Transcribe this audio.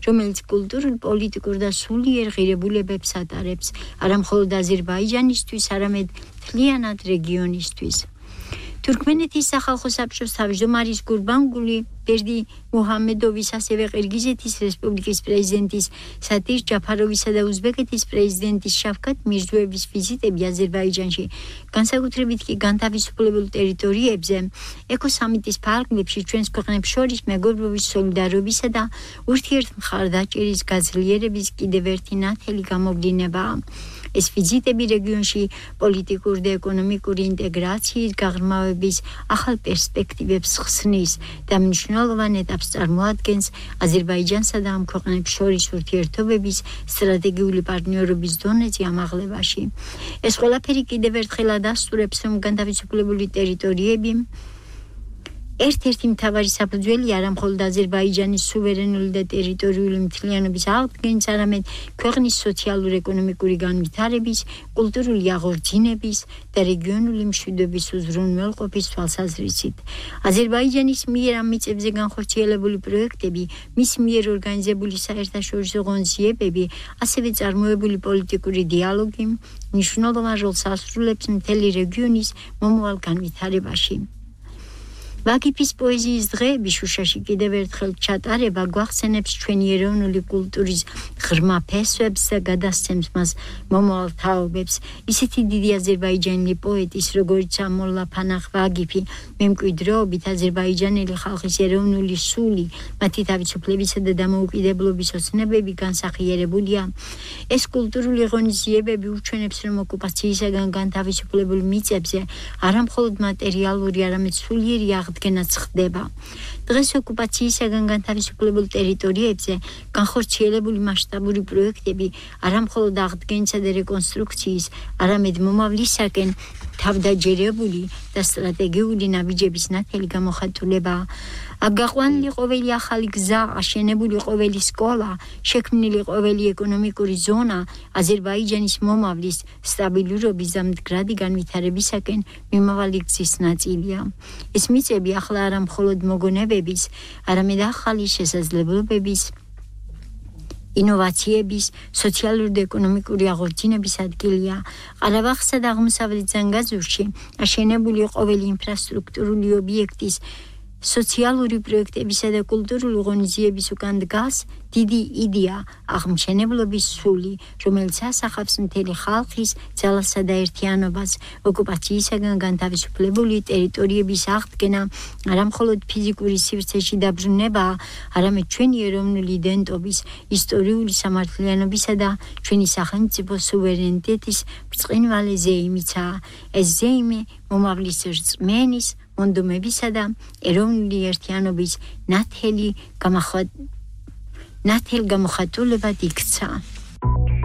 რომელიც კულტურულ, პოლიტიკურ და სულიერ ღირებულებებს ატარებს, არა მხოლოდ აზერბაიჯანისთვის, არამედ მთლიანად რეგიონისთვის. თურქმენეთის სახალხო საბჭოს თავმჯდომარის გურბანგული ბერდი მუჰამედოვის, ასევე ყირგიზეთის რესპუბლიკის პრეზიდენტის სადირ ჯაფაროვისა და უზბეკეთის პრეზიდენტის შავკათ მირზოევის ვიზიტები აზერბაიჯანში, განსაკუთრებით კი განთავისუფლებულ ტერიტორიებზე, ეკოსამიტის ფარგლებში ჩვენს ქვეყნებს შორის მეგობრობის, სოლიდარობისა და ურთიერთმხარდაჭერის გაძლიერების კიდევ ერთი ნათელი გამოვლინებაა. ეს ვიზიტები რეგიონში პოლიტიკური და ეკონომიკური ინტეგრაციის გაღრმავების ახალ პერსპექტივებს ხსნის და მნიშვნელოვან ეტაპს წარმოადგენს აზერბაიჯანსა და ამ ქვეყნებს შორის ურთიერთობების სტრატეგიული პარტნიორობის დონეზე ამაღლებაში. ეს ყველაფერი კიდევ ერთხელ ადასტურებს, რომ განთავისუფლებული ტერიტორიები ერთ-ერთი მთავარი საფუძველი არა მხოლოდ აზერბაიჯანის სუვერენული და ტერიტორიული მთლიანობის აღდგენის, არამედ ქვეყნის სოციალურ-ეკონომიკური განვითარების, კულტურული აღორძინების და რეგიონული მშვიდობის უზრუნველყოფის თვალსაზრისით. აზერბაიჯანის მიერ ამ მიწებზე განხორციელებული პროექტები, მის მიერ ორგანიზებული საერთაშორისო ღონისძიებები, ასევე წარმოებული პოლიტიკური დიალოგი მნიშვნელოვან როლს ასრულებს მთელი რეგიონის მომავალ განვითარებაში. ვაგიფის პოეზიის დღეები შუშაში კიდევ ერთხელ ჩატარება გვახსენებს ჩვენი ეროვნული კულტურის ღრმა ფესვებს და გადასცემს მას მომავალ თაობებს. ისეთი დიდი აზერბაიჯანელი პოეტის, როგორიცაა მოლლა ფანახ ვაგიფი, მემკვიდრეობით აზერბაიჯანელი ხალხის ეროვნული სული, მათი თავისუფლებისა და დამოუკიდებლობის ოცნებები განსახიერებულია. ეს კულტურული ღონისძიებები უჩვენებს, რომ ოკუპაციისაგან განთავისუფლებულ მიწებზე არა მხოლოდ მატერიალური, არამედ სულიერი აღდგენაც ხდება. დღეს ოკუპაციისაგან განთავისუფლებულ ტერიტორიებზე განხორციელებული მასშტაბური პროექტები არა მხოლოდ აღდგენისა და რეკონსტრუქციის, არამედ მომავლისაკენ თავდაჯერებული და სტრატეგიული ნაბიჯების ნათელი გამოხატულებაა. გაყვანილი ყოველი ახალი გზა, აშენებული ყოველი სკოლა, შექმნილი ყოველი ეკონომიკური ზონა აზერბაიჯანის მომავლის სტაბილურობის და მდგრადი განვითარებისაკენ მიმავალი გზის ნაწილია. ეს მიწები ახლა არა მხოლოდ მოგონებების, არამედ ახალი შესაძლებლობების, ინოვაციების, სოციალური და ეკონომიკური აღორძინების ადგილია. ყარაბაღსა და აღმოსავლეთ ზანგაზურში აშენებული ყოველი ინფრასტრუქტურული ობიექტის, სოციალური პროექტებისა და კულტურული ღონისძიების უკან დგას დიდი იდეა აღმშენებლობის სული, რომელიც ასახავს მთელი ხალხის ძალასა და ერთიანობას. ოკუპაციისაგან განთავისუფლებული ტერიტორიების აღდგენა არა მხოლოდ ფიზიკური სივრცეში დაბრუნებაა, არამედ ჩვენი ეროვნული იდენტობის, ისტორიული სამართლიანობისა და ჩვენი სახელმწიფო სუვერენიტეტის ბრწყინვალე ზეიმიცაა. ეს ზეიმი მომავლის რწმენის, მონდომებისა და ეროვნული ერთიანობის ნათელ გამოხატულებად იქცა.